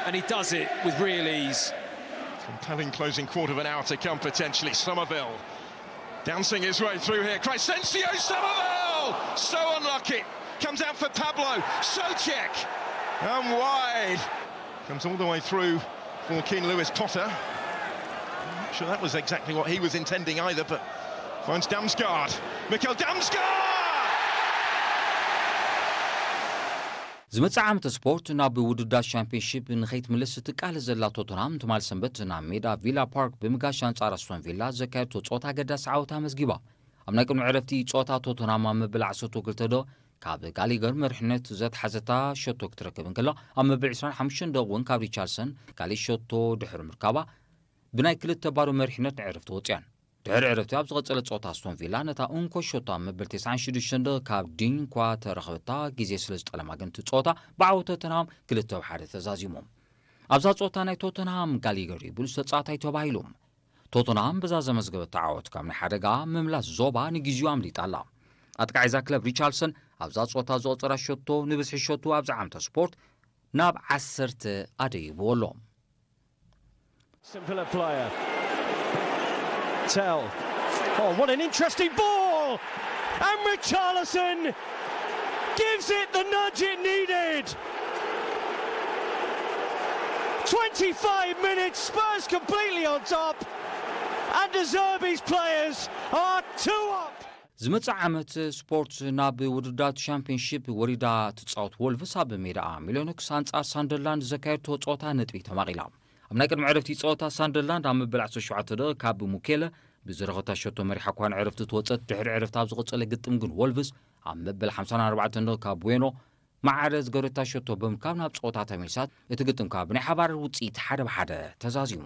And he does it with real ease. Compelling closing quarter of an hour to come potentially. Somerville dancing his way through here. Crescencio Somerville! So unlucky. Comes out for Pablo. Soucek. And wide. Comes all the way through for Keane Lewis Potter. I'm not sure that was exactly what he was intending either, but finds Damsgaard. Mikel Damsgaard! ዝመጽእ ዓመት ስፖርት ናብ ውድዳት ሻምፒዮንሺፕ ንኸይትምልስ ትቃለስ ዘላ ቶተንሃም ትማል ሰንበት ናብ ሜዳ ቪላ ፓርክ ብምጋሽ ኣንጻር ኣስቶን ቪላ ዘካየድቶ ጸወታ ኣገዳሲ ዓወት ኣመዝጊባ። ኣብ ናይ ቅድሚ ዕረፍቲ ጸወታ ቶተንሃም ኣብ መበል ዓሰርተ ክልተ ደቂቕ ካብ ጋሊገር መሪሕነት ዘትሓዘታ ሸቶ ክትረክብ እንከላ፣ ኣብ መበል ዕስራን ሓሙሽተን ደቂቕ እውን ካብ ሪቻርድሰን ካልእ ሸቶ ድሕሪ ምርካባ ብናይ ክልተ ባዶ መሪሕነት ንዕረፍቲ ወጺኣን። ድሕሪ ዕረፍቲ ኣብ ዝቐጸለ ጸወታ ኣስቶን ቪላ ነታ እንኮ ሸቶ ኣብ መበል ተስዓን ሽዱሽተን ደቂቕ ካብ ዲን እኳ ተረኸበታ ግዜ ስለ ዝጠለማ ግን እቲ ጸወታ ብዓወት ቶተንሃም ክልተ ብ ሓደ ተዛዚሞም። ኣብዛ ጸወታ ናይ ቶተንሃም ጋሊገር እዩ ብሉጽ ተጻዋታይ ተባሂሉ። ቶተንሃም በዛ ዘመዝገበታ ዓወት ካብ ናይ ሓደጋ ምምላስ ዞባ ንግዜኡ ኣምሊጣ ኣላ። ኣጥቃዒ እዛ ክለብ ሪቻርድሰን ኣብዛ ጸወታ ዘቑጸራ ሸቶ ንብዝሒ ሸቶ ኣብዚ ዓመተ ስፖርት ናብ ዓሰርተ ኣደይብዎ ኣሎ። St Villa player. Tell. Oh, what an interesting ball! And Richarlison gives it the nudge it needed. Twenty-five minutes, Spurs completely on top, and De Zerbi's players are two up. ዝመጽእ ዓመት ስፖርት ናብ ውድዳት ሻምፒዮንሺፕ ወሪዳ ትጻወት ወልቭስ ኣብ ሜዳኣ ሚሎኖክስ ኣንጻር ሳንደርላንድ ዘካየድቶ ጸወታ ነጥቢ ተማቒላ። ኣብ ናይ ቅድሚ ዕረፍቲ ጸወታ ሳንደርላንድ ኣብ መበል ዓሰርተ ሸውዓተ ደቂቕ ካብ ሙኬለ ብዝረኸታ ሸቶ መሪሓ እኳ ንዕረፍቲ ትወጸት፣ ድሕሪ ዕረፍቲ ኣብ ዝቐጸለ ግጥም ግን ወልቭስ ኣብ መበል ሓምሳን ኣርባዕተን ደቂቕ ካብ ዌኖ ማዕረ ዝገረታ ሸቶ ብምርካብ ናብ ጸወታ ተመልሳት። እቲ ግጥም ካብ ብናይ ሓባር ውጽኢት ሓደ ብ ሓደ ተዛዚሙ።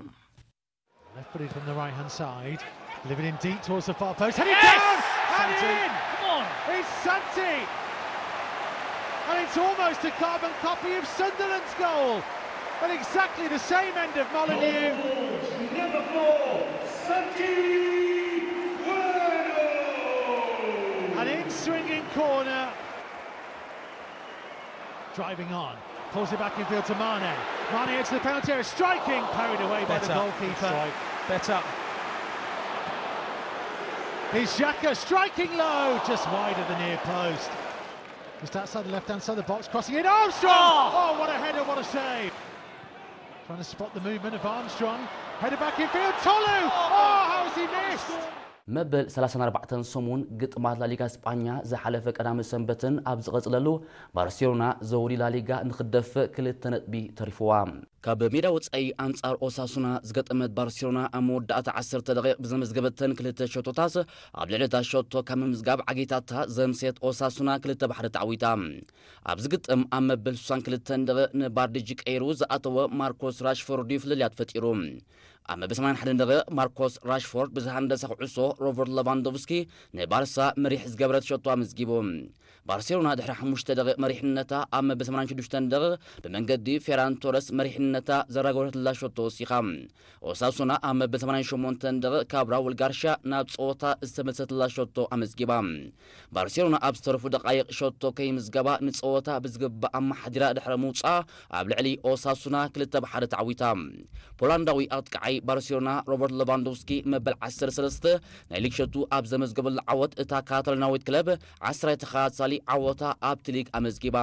Left footed from the right hand side. Delivered in deep towards the far post. Headed yes! Down! Headed in! Come on! It's Santi! And it's almost a carbon copy of Sunderland's goal at exactly the same end of Molineux. Number four, Santi Bueno! An in swinging corner. Driving on. Pulls it back in field to Mane. Mane into the penalty area. Striking. Parried away by better. The goalkeeper. Strike. Better. Here's Xhaka striking low. Just wide of the near post. Just outside the left hand side of the box. Crossing in. Armstrong! Oh, oh what a header. What a save. Trying to spot the movement of Armstrong. Header back in field. Tolu! Oh, how has he missed? መበል ሰላሳን ኣርባዕተን ሰሙን ግጥማት ላሊጋ ስጳኛ ዝሓለፈ ቀዳመ ሰንበትን ኣብ ዝቐጽለሉ ባርሴሎና ዘውዲ ላሊጋ ንክትደፍእ ክልተ ነጥቢ ተሪፍዋ። ካብ ሜዳ ወጻኢ ኣንጻር ኦሳሱና ዝገጠመት ባርሴሎና ኣብ መወዳእታ ዓሰርተ ደቂቕ ብዘመዝገበተን ክልተ ሸቶታት ኣብ ልዕሊ እታ ሸቶ ካብ ምምዝጋብ ዓጊታታ ዘምሰየት ኦሳሱና ክልተ ባሕሪ ተዓዊታ። ኣብዚ ግጥም ኣብ መበል ስሳን ክልተን ደቂቕ ንባርዲጂ ቀይሩ ዝኣተወ ማርኮስ ራሽፎርድ እዩ ፍልልያት ፈጢሩ። ኣብ መበል ሰማንያን ሓደን ደቂቕ ማርኮስ ራሽፎርድ ብዝሃንደሳ ኩዕሶ ሮበርት ለቫንዶቭስኪ ንባርሳ መሪሕ ዝገበረት ሸቶ ኣመዝጊቡ። ባርሴሎና ድሕሪ ሓሙሽተ ደቂቕ መሪሕነታ ኣብ መበል ሰማንያን ሽዱሽተን ደቂቕ ብመንገዲ ፌራን ቶረስ መሪሕነታ ዘራገበተትላ ሸቶ ወሲኻ። ኦሳሱና ኣብ መበል ሰማንያን ሸሞንተን ደቂቕ ካብ ራውል ጋርሻ ናብ ጸወታ ዝተመልሰትላ ሸቶ ኣመዝጊባ። ባርሴሎና ኣብ ዝተረፉ ደቃይቕ ሸቶ ከይምዝገባ ንጸወታ ብዝግባእ ኣመሓዲራ ድሕሪ ምውጻኣ ኣብ ልዕሊ ኦሳሱና ክልተ ብ ሓደ ተዓዊታ። ፖላንዳዊ ኣጥቃዓይ ባርሴሎና ሮበርት ሌቫንዶቭስኪ መበል ዓሰርተ ሰለስተ ናይ ሊግ ሸቱ ኣብ ዘመዝገበሉ ዓወት እታ ካታሎናዊት ክለብ ዓስራይ ተኸታታሊ ዓወታ ኣብቲ ሊግ ኣመዝጊባ።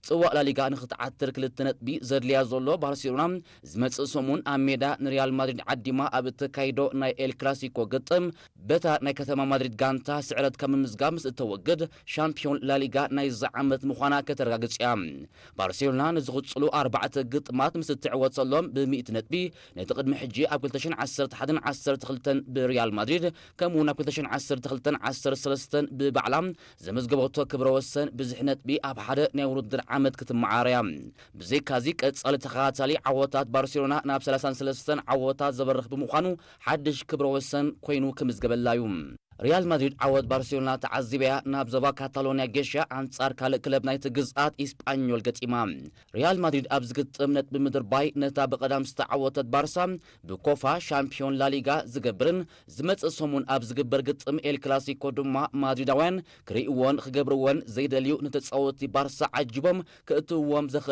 ጽዋእ ላሊጋ ንኽትዓትር ክልተ ነጥቢ ዘድልያ ዘሎ ባርሴሎና ዝመጽእ ሰሙን ኣብ ሜዳ ንሪያል ማድሪድ ዓዲማ ኣብ እተካይዶ ናይ ኤል ክላሲኮ ግጥም በታ ናይ ከተማ ማድሪድ ጋንታ ስዕረት ካብ ምምዝጋብ ምስ እተወግድ ሻምፒዮን ላሊጋ ናይዚ ዓመት ምዃና ከተረጋግጽ እያ። ባርሴሎና ንዝቕጽሉ ኣርባዕተ ግጥማት ምስ እትዕወተሎም ብሚእቲ ነጥቢ ነቲ ቅድሚ ሕጂ ኣብ ክልተ ሽሕን ዓሰርተ ሓደን ዓሰርተ ክልተን ብሪያል ማድሪድ ከምኡውን ኣብ ክልተ ሽሕን ዓሰርተ ክልተን ዓሰርተ ሰለስተን ብባዕላ ዘመዝገበቶ ክብረ ወሰን ብዝሒ ነጥቢ ኣብ ሓደ ናይ ውድድር ዓመት ክትመዓረያ። ብዘይካዚ ቀጻሊ ተኸታታሊ ዓወታት ባርሴሎና ናብ ሰላሳን ሰለስተን ዓወታት ዘበርኽ ብምዃኑ ሓድሽ ክብረ ወሰን ኮይኑ ክምዝገበላ እዩ። ሪያል ማድሪድ ዓወት ባርሴሎና ተዓዚበያ ናብ ዞባ ካታሎንያ ጌሻ ኣንጻር ካልእ ክለብ ናይቲ ግዝኣት ኢስጳኞል ገጢማ። ሪያል ማድሪድ ኣብ ዝግጥም ነጥቢ ምድርባይ ነታ ብቐዳም ዝተዓወተት ባርሳ ብኮፋ ሻምፒዮን ላሊጋ ዝገብርን ዝመጽእ ሰሙን ኣብ ዝግበር ግጥም ኤል ክላሲኮ ድማ ማድሪዳውያን ክርእይዎን ክገብርዎን ዘይደልዩ ንተጻወትቲ ባርሳ ዓጂቦም ክእትውዎም ዘኽእል